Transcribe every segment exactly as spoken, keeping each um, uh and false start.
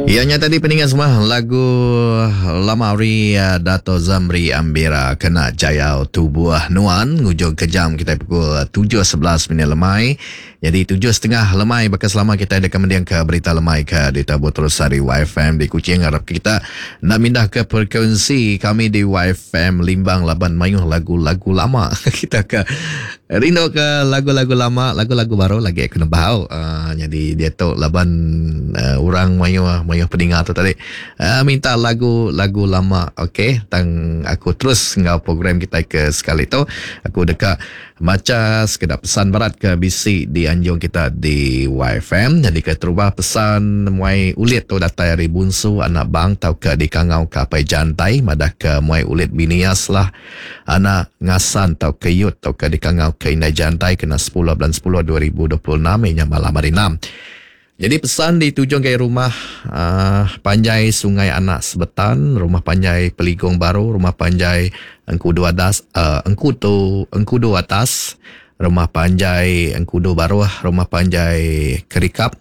Ya nya tadi peninga semua lagu lama ari uh, Dato Zamri Ambira kena jayau tubuh nuan ngujung ke jam kita pukul tujuh sebelas minit lemai. Jadi tujuh setengah lemai bakal selama kita ada kemendiang ke berita lemai ke di Tabu Terus Hari Y F M di Kuching. Harap kita nak mindah ke frekuensi kami di Y F M Limbang laban mayuh lagu-lagu lama. Kita ke rindu ke lagu-lagu lama, lagu-lagu baru lagi aku nembau. Uh, jadi dia tu laban uh, orang mayuh mayuh peninga tu tadi uh, minta lagu-lagu lama. Okey, tang aku terus ngau program kita ke sekali tu. Aku dekat maca sekedar pesan berat ke B C di anjung kita di Y F M. Jadi ke terubah pesan muai ulit tu datai ari bunsu anak bang tau ke di kangau ke apai jantai madah ke muai ulit binias lah anak ngasan tau ke yut tau ke di kangau ke indai jantai kena sepuluh bulan sepuluh dua ribu dua puluh enam inya malam hari enam. Jadi pesan ditujung ke rumah uh, panjai Sungai Anak Sebetan, rumah panjai Peligong Baru, rumah panjai Engkudu Adas, uh, Engkudu, Engkudu Atas, rumah panjai Engkudu Baruh, rumah panjai Kerikap,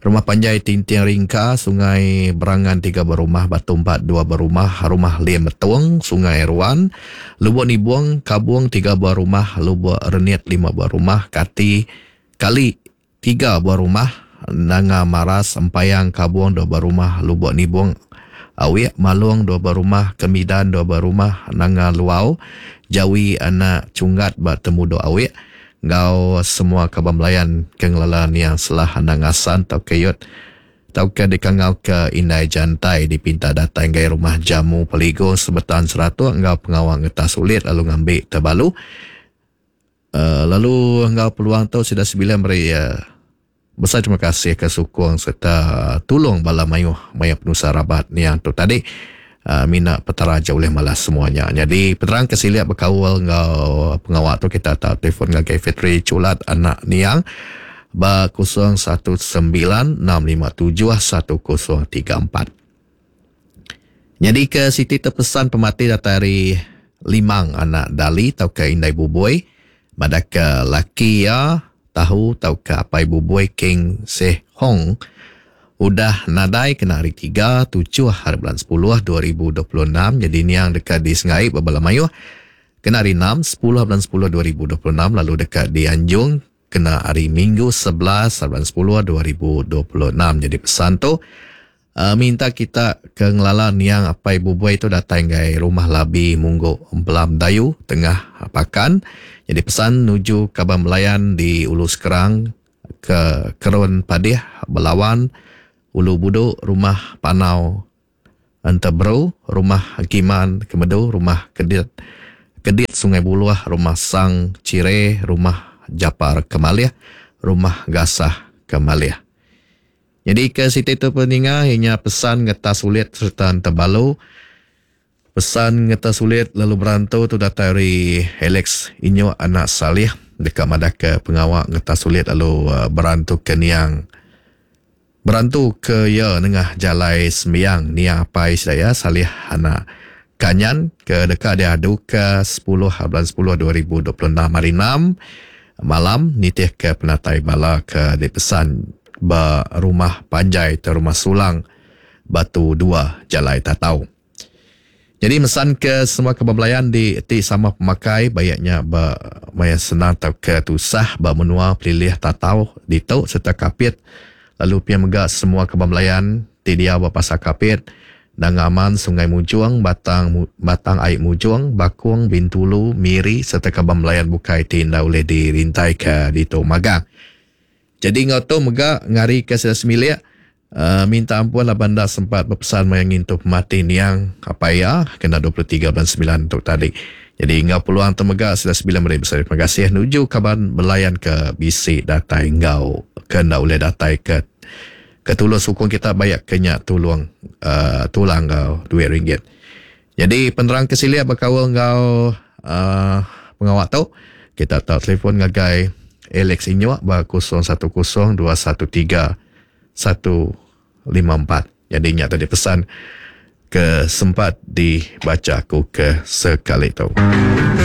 rumah panjai Tinting Ringka, Sungai Berangan tiga berumah, Batu Empat dua berumah, rumah Lim Betung, Sungai Ruan, Lubuk Nibung, Kabung tiga buah rumah, Lubuk Renit lima buah rumah, Kati Kali tiga buah rumah, Nanga Maras, Empayang, Kabung dua buah rumah, Lubuk Nibung, Awik, Malung dua buah rumah, Kemidan dua buah rumah, Nanga Luau, Jawi Anak Cunggat bak Temudo Awik, ngau semua kaban melayan kengelalan yang selah anak ngasan tau keyot tau ke dikangau ke indai jantai dipinta datang gai rumah jamu Peligo Sebetan Seratus ngau pengawang ngetas sulit lalu ngambil terbalu. Uh, lalu ngau peluang tu sudah sembilan beri uh, besar terima kasih ke sukong serta tolong bala mayuh mayuh penusa rabat ni yang tu tadi. Uh, mina petara jauh oleh malas semuanya. Jadi peterang kesiliap berkawal ngau pengawal tu kita tak telefon ngagai Fitri Culat anak niang ba kosong satu sembilan enam lima tujuh satu kosong tiga empat. Jadi ke Siti terpesan pemati datari Limang anak Dali tau ke Indai Buboi pada ke laki ya tahu tau ke apai Buboi King Seh Hong udah nadai kena hari tiga tujuh hari bulan sepuluh dua ribu dua puluh enam. Jadi ni yang dekat di Sengai Babala Mayuh kena hari enam sepuluh bulan sepuluh dua ribu dua puluh enam, lalu dekat di Anjung kena hari Minggu sebelas bulan sepuluh dua ribu dua puluh enam. Jadi pesan tu uh, minta kita ke ngelala niang apai Buboi tu datang gai rumah Labi Munggo Empelam Dayu tengah Pakan. Jadi pesan nuju kaban melayan di Ulu Sekerang ke Kerun Padih Belawan Ulu Buduk, Rumah Panau Enteberu, Rumah Giman Kemedu, Rumah Kedit Kedit Sungai Buluah, Rumah Sang Cire, Rumah Japar Kemalih, Rumah Gasah Kemalih. Jadi ke situ tu peninga hanya pesan ngetas sulit serta terbalu. Pesan ngetas sulit lalu berantau tu datang dari Alex Inyo anak Salih dekat madah ke pengawak ngetas sulit lalu uh, berantu ke niang berantu ke ya nengah jalai sembiang niang apai saya Salih anak Kanyan ke dekat dia adu ke sepuluh bulan sepuluh dua ribu dua puluh enam hari enam malam nitih ke penatai bala ke dipesan ba rumah panjai ke rumah Sulang Batu dua Jalai Tatau. Jadi mesan ke semua kebablayan di ti sama pemakai bayaknya ba maya senang atau ke tusah ba menua pelilih Tatau ditu serta Kapit. Lalu pia mega semua kebablayan ti dia ba pasar Kapit, Dangaman, Sungai Mujung, Batang Batang Aik Mujung, Bakung, Bintulu, Miri serta kebablayan bukai ti nda boleh dirintai ke ditu magang. Jadi ngau tu mega ngari ke sida semilik uh, minta ampun lah banda sempat berpesan mayang ngintu pemati niang apa ya kena dua puluh tiga bulan sembilan untuk tadi. Jadi ngau peluang tu mega sida sembilan beri besar terima kasih nuju kaban belayan ke B C datai ngau ke nda boleh datai ke ke tulus sukong kita bayak kenyak tulung uh, tulang ngau duit ringgit. Jadi penerang kesilia berkawal ngau uh, pengawak tu kita tak telefon ngagai Alex Inyo ba kosong satu kosong dua satu tiga satu lima empat. Jadi nya tadi pesan ke sempat dibaca aku ke sekali tu.